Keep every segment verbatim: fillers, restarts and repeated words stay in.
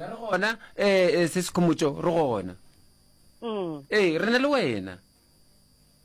Gona re gona eh se Sekhomotšo, re gona. Mm. Ee, re na le wena.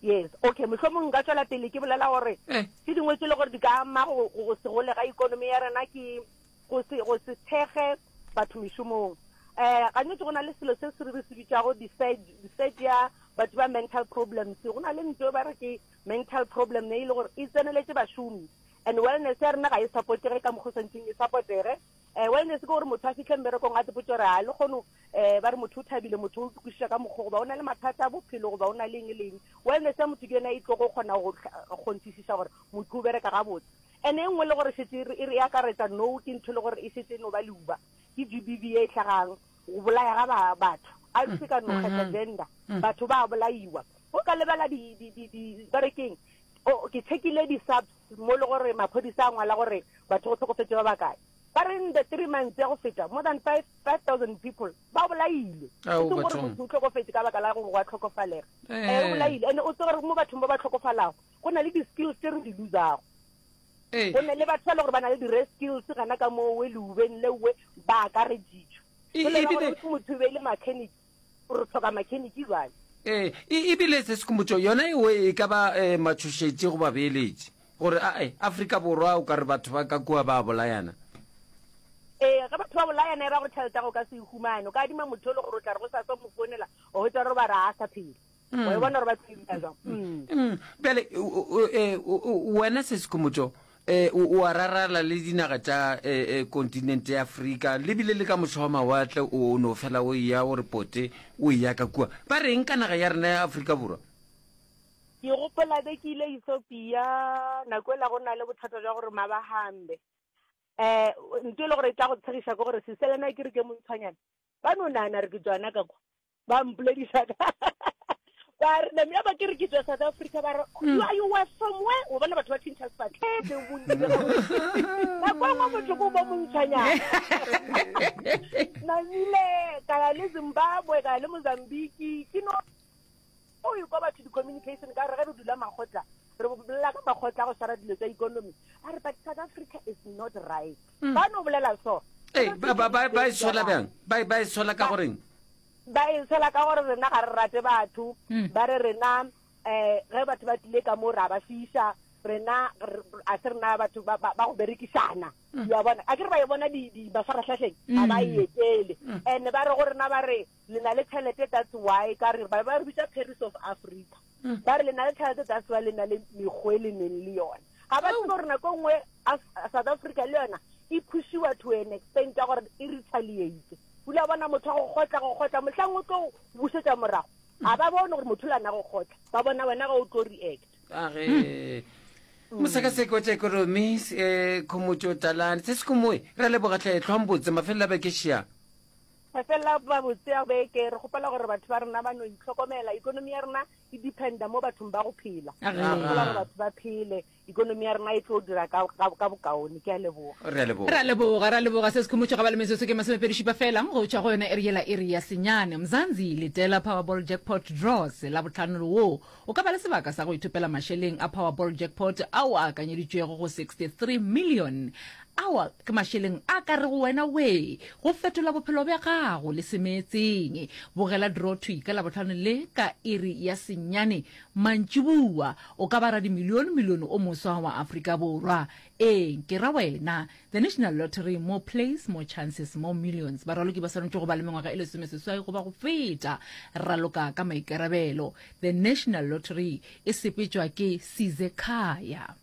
Yes, okay, mohlomong nka tšwela pele ke bolela gore Eh. tše dingwe tše le gore di ka ama go go se gole ga ikonomi ya rena ke go se go se thekge batho mešomong. Eh gantši go na le selo se se re se bitšago di-surge ya batho ba mental problems. Go na le ntho e ba re ke mental problem e le gore e tseneletše bašomi, and wellness ya rena ga e supportege ka mokgwa o swanetšeng e supportege. um Wellness ke gore motho a fitlhe mmerekong a tsepotse gore a le kgono um ba re motho o thabile, motho o kwešiša ka mokgwa, goba o na le mathata a bophelo, goba o na le eng le eng. Wellness ya motho ke yona e tlo go kgona go kgonthišiša gore motho o bereka gabotse. And e nngwe le gore šetse e re e akaretsa no ke ntho e le gore e šetse e no ba leuba, ke G B V e hlagang, go bolaya ga batho a se ka no kgetha gender, batho ba bolaiwa. O ka lebela di di di di ba re keng, o ke checkile di-subs mo le gore maphodisa a ngwala gore batho go tlhokofetse ba bakae. Ba re in the three months ya go feta, more than five five thousand people ba bolailwe. Ao, e seng gore bathong. Motho o tlhokofetse ka baka la gore go a tlhokofalega, Eh. um o bolaile. And o tse gore mo bathong ba ba tlhokofalago go na le di-skills tse re di losago. Ee. Go na le batho ba e le gore ba na le di-rare skills gana ka moo leubeng leowe ba akareditšwe. E- Jwale ba ebile- gore motho e be e le mechanic, re tlhoka mechanic jwale. Ee, e- ebile se Sekhomotšo yona eo e ka ba um matšhošetši go babeeletši gore ae Afrika Borwa o ka re batho ba ka kua ba bolayana. Ee, ge batho ba bolayana e ra gore tšhelete ya go ka se e humane. O ka adima motho o le gore o tla re go sa sa mo founela, o hwetša gore ba re a sa phela, wa e bona gore ba tlo e dira jwang. Mm. Mm, bjale o- o- eh, o- o- wena se Sekhomotšo um o a rarala le dinaga tša eh, eh, kontinente ya Afrika, le bile le ka mošo wa mawatle, o no fela o eya o re pote o eya ka kua, ba reng ka naga ya rena ya Afrika Borwa? Ke gopola be ke ile Ethiopia nako ela, go na le bothata jwa gore mabahambe um ntho e le gore e tla go tshegiša ke gore seselena ke re ke montshwanyana, ba no nagana re ke tswana ka kwa, ba mpolediša ka ba re name ya ba ke re ke tswa South Africa, ba re, you are you were from where?" O bona batho ba tšhentšha sefatlhego bontsi bja bona. Nako e nngwe motho ko ba montshwanyana. Namile ka ya le Zimbabwe, ka ya le Mozambique, ke no o e kwa batho di-communication ka re ge re dula makgotla, re bolela ka makgotla a go swara dilo tsa economy, ba re, "But South Africa is not right." Ba no bolela so. Ee, ba ba ba ba e sola bjang? ba ba e sola ka goreng? Ba e sola ka gore rena ga re rate batho. Mm. Ba re rena um ge batho ba tlile ka mo ra ba fiša, rena re- a se rena batho ba ba- ba go berekišana ya bona, a ke re ba e bona di di mafaratlhatlheng, ga ba e etele. And ba re go rena, ba re le na le tšhelete, that's why ka re ba ba re bitsa Paris of Africa. Ba re le na le tšhelete, that's why le na le mekgwa e le neng le yona. Ga ba tsebe gore nako e nngwe Af- South Africa le yona e pushiwa to an extent ya gore e retaliate. O ile wa bona motho wa go kgotla go kgotla, mohlang o tlo bušetša morago, ga ba bone gore motho le ana go kgotla, ba bona wena ga o tlo react. Age mosekaseki wa tša ikonomi um Khomotšo Talane se sekomoe, re a leboga tlhe, tlhwang botse, mafelelo a bekešia. Mafela ba botse a beke. Re kgopela gore batho ba rena ba no itlhokomela. Ikonomi ya rena e dependa mo bathong ba go phela. Age. Re kgopela gore batho ba phele, ikonomi ya rena e tlo dira ka ka- ka bokaone. Ke a leboga. Re a leboga. Ra leboga, ra leboga se Sekhomotšo. Ga ba le metsotso ke masomepedi šupa fela go tšwa go yona iri yela, iri ya senyane. Mzanzi, letela Powerball jackpot draws la botlhano wo o ka ba le sebaka sa go ithopela mašeleng a Powerball jackpot ao a akanyeditšwego go sixty-three million. Ao ke mašeleng a ka re go wena we go fetola bophelo bja gago le semeetseng. Bogela draw thwi ka Labotlhano le ka iri ya senyane mantšibua, o ka ba radimilione milione o moswa wa Afrika Borwa. Ee, ke ra wena. The National Lottery, more plays, more chances, more millions. Baraloki ba swanetše go ba le mengwaga e lesomeseswai goba go feta. Raloka ka maikarabelo. The National Lottery e sepetšwa ke Sizekhaya.